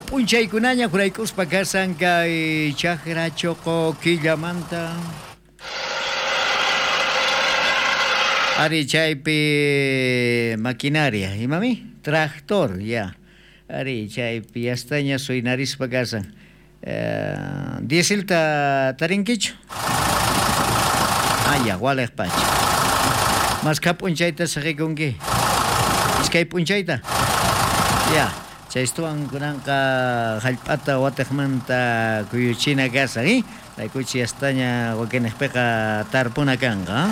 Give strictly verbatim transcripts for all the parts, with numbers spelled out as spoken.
P'unchaykunaña juraykuspa kasan kay chakra choqo killamanta. Ari chaypi maquinaria, imami? Tractor, ya. Ari chaypi yastaña suynarispa kasan. Eh, dieselta tarinkichu? Ah, ya, walej pacha. Maskha p'unchayta saqikunki? Iskay p'unchayta? Ya. Chaystuwan kunanqa hallp'ata watiqmanta kuyuchina kasan, eh? Raykuchi yastaña wakinejpiqa tarpuna kanqa.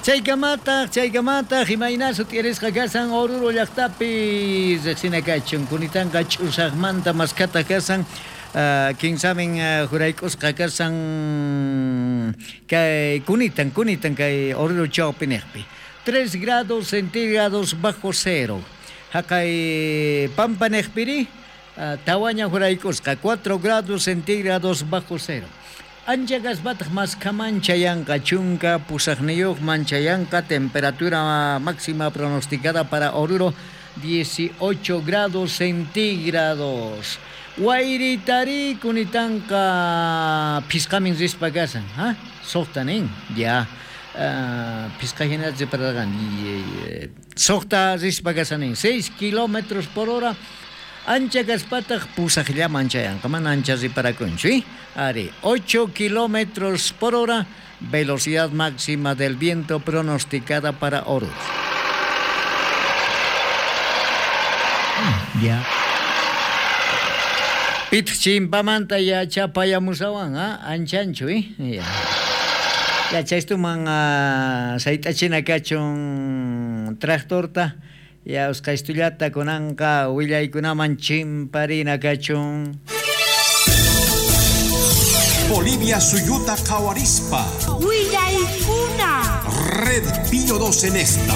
Chaykamataq, chaykamataq, imayna sut'irisqa kasan Oruro llaqtapi riqsina kachun, kunitanqa ch'usaqmanta maskata kasan, uh, kinsamin uh, jurayk'usqa kasan kay kunitan, kunitan kay Oruro chawpiniqpi. Tres grados centígrados bajo cero. Haqay pampaniqpiri, uh, tawaña jurayk'usqa, cuatro grados centígrados bajo cero. Ancha kaspataq maskhaman chayanqa, chunka pusaqniyuqman chayanqa, temperatura máxima pronosticada para Oruro dieciocho grados centígrados. Wayritari kunitanqa phisqamin rispa kasan, ha? Suqta nin, ya. Uh, phisqa hina ripararqan, suqta rispa kasan nin, seis kilómetros por hora. Ancha kaspataq pusaqllaman chayanqa, mana ancha riparakunchu, ¿eh? Ari, ocho kilómetros por hora, velocidad máxima del viento pronosticada para Oruro. Ya. Pit chimpamanta ya chapayamusawan, ¿ah? Anchanchu, ¿eh? Ya. Ya chaystuman uh, sayt'achina kachun tractorta. Ya usqaystullata kunanqa willaykunaman chimparina kachun. Bolivia suyuta qhawarispa. Willaykuna. Red Pío dos en esta.